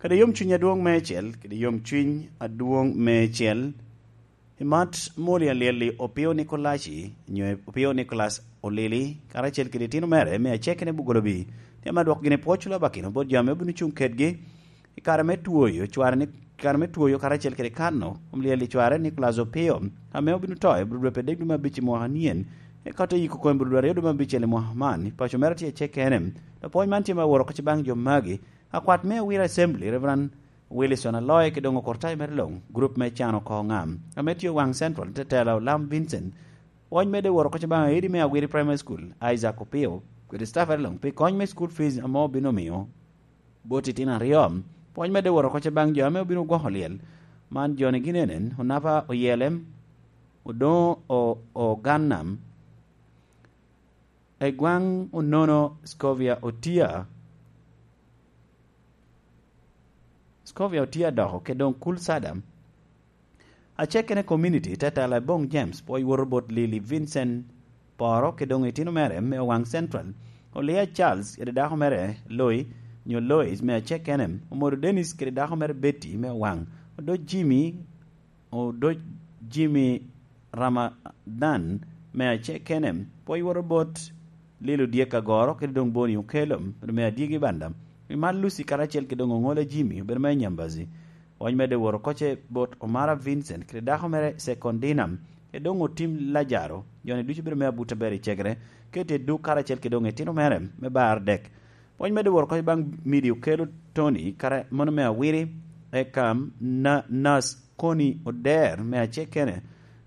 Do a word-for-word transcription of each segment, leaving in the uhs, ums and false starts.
Kede yomcuny adwoŋ meicel, kede yomcuny adwoŋ meicel, i mat Moli Alyel-li, Opio Nikolaci, nyo Opio Nicolas Olili, karacel kede itino mere me Acekene Bugolobi, tye ame adwoko gini pwoc lobakino bot jo ame obino cuŋ kedgi i kare me twoyo cware ni, kare me twoyo karacel kede kano kom lyel i cware Nicolas Opio, ame obino to i bro dwe pe dek dwe me abic i mwaka nien, eka te yiko kome bro dwe aryo dwe me abicel i mwaka man. I paco mere tye Acekene. Lapwony man tye me woro kocci baŋ jo magi, akwat me Awira Assembly, Reverend Wilson Aloy, ki doŋ okortayo mere luŋ, gurup me Can Oko Ŋam, ame tye Owaŋ Central, te tela Olam Vincent. Pwony medde woro kocci baŋ aidi me Awiri Primary School, Isaac Opio, kede staff mere luŋ, pi kony me school fees ame obino miyo bot itino aryo. Pwony medde woro kocci baŋ jo ame obino gwoko lyel. Man joni gin enen: Onapa Oyelem, Odoŋo O-, Ogannam, Egwaŋ Onono, Scovia Otia, Scovia Otia doko, kede doŋ Kul Sadam. Acekene Community, te tela Eboŋ James, pwoc woto bot Lili Vincent Poro, kede doŋ itino mere me Owaŋ Central, Olia Charles kede dako mere Loi, nyo Lois, me Acekene, Omodo Dennis kede dako mere Betty, me Owaŋ, Odoc Jimmy, Odoc Jimmy Ramadan, me Acekene, pwoc woto bot Lilo Dyek Agoro, kede doŋ Boni Okelo, me Adyegi Banda, Imat Lucy karacel kede doŋ Oŋola Jimmy, obedo me Nyambazi. Pwony medde woro kocce bot Omara Vincent kede dako mere Secondina, kede doŋ Otim Lajaro, joni ducu bedo me abuto aber i cegere, kede duk karacel kede doŋ itino mere me bar dek. Pwony medde woro kocce baŋ Midi Okelo Tony, kara mono me Awiri, eka na-, Nas Koni Oder me Acekene.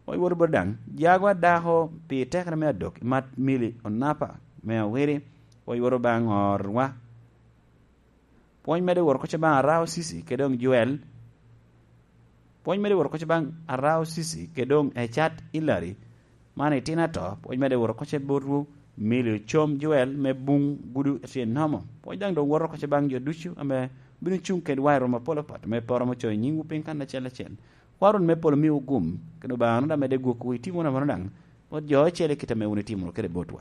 Pwony woro bot daŋ Jagwa dako pi tekere me adok, Imat Mili Onapa me Awiri. Pwony woro baŋ Orwa. Pwony medde woro kocce baŋ Arao Cissy kede doŋ Joel. Pwony medde woro kocce baŋ Arao Cissy kede doŋ Ecat Hillary, man itino ato. Pwony medde woro kocce botwu Milio Com Joel me Buŋ Gudu Tyen Nomo. Pwony daŋ doŋ woto kocce baŋ jo ducu ame bino cuŋ kedwa i romo apol apat, me poro ame ocoyo nyiŋwu piny kan acel acel. Kwaro me polo miwu gum, kede Obaŋa wunu daŋ medde gwokwu i timo wunu amono daŋ bot jo ocele kit ame wun itimo kede botwa.